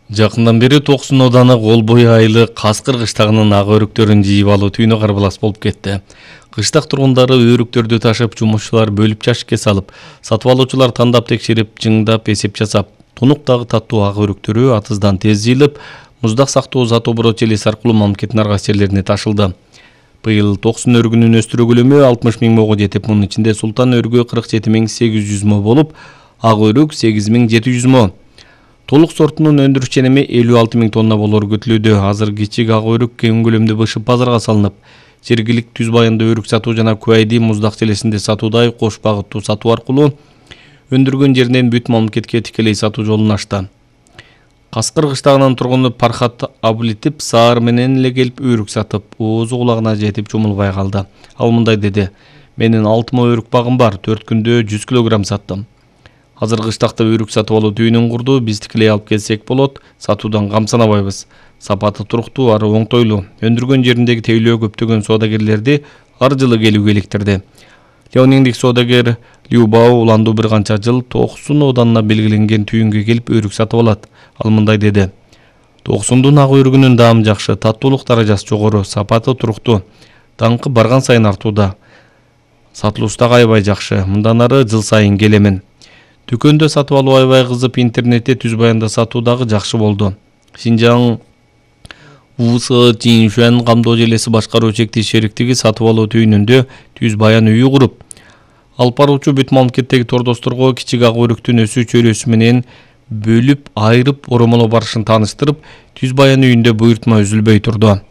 Жакындан бери Токсон Ооданы Кол бою айылы Каскыр кыштагынын ак өрүктөрүн жыйып алуу түйүнү карбалас болуп кетти. Кыштак тургундары өрүктөрдү ташып, жумушчулар бөлүп жашикке салып, сатып алуучулар тандап текшерип, жыңдап эсеп жасап, тунуктагы таттуу ак өрүктөрү атыздан тез жыйылып, муздак сактоо Затобро Челес аркылуу мамлекеттин ар кайсы жерлерине ташылды. Быйыл Токсон өрүгүнүн өстүрүү көлөмү 60 000 мого жетип, мунун ичинде Султан өрүгү 47 800 мо болуп, ак өрүк 8 700 мо. Толук сортунун өндүрүш ченеми 56 000 тонна болору күтүлүүдө. Азыр кичик ак өрүк кең көлөмдө бышып базарга салынып, жергиликтүү Түз Баянда өрүк сатуу жана Куайди муздак челесинде сатуудай кош багыттуу сатуу аркылуу өндүргөн жеринен бүт мамлекетке тикелей сатуу жолун ачты. Каскыр кыштагынын тургуну Пархат Абулитип саар менен эле келип өрүк сатып, оозу кулагына жетип жумулбай калды. Ал мындай деди: "Менин 6 мо өрүк багым бар, 4 күндө 100 килограмм саттым. Азыр кыштакта өрүк сатып алуу түйүнүн курду, биз тикелей алып келсек болот, сатуудан камсанабайбыз. Сапаты туруктуу, ары оңтойлуу. Өндүргөн жериндеги тейлөө көптөгөн соодагерлерди ар жылы келүүгө иликтирди." Леониндик соодагер Любао уландуу бир канча жыл Токсон Оодана белгиленген түйүнгө келип өрүк сатып алат. Ал мындай деди: "Токсондун ак өрүгүнүн даамы жакшы, таттуулук даражасы жогору, сапаты туруктуу. Даңкы барган сайын артууда. Сатылуусу да аябай жакшы. Мындан ары жыл сайын келемин. Дүкөндө сатып алуу аябай кызып, интернетте Түз Баянда сатуу дагы жакшы болду. Шинжаң УВС Чиншуан камдоо желеси башкаруу чектүү шериктиги сатып алуу түйүнүндө Түз Баян үйү куруп, алып баруучу бүт мамлекеттеги тордосторго кичик ак өрүктүн өсүү чөйрөсү менен бөлүп, айырып оромолоо барышын тааныштырып, Түз Баян үйүндө буйртма үзүлбөй турду.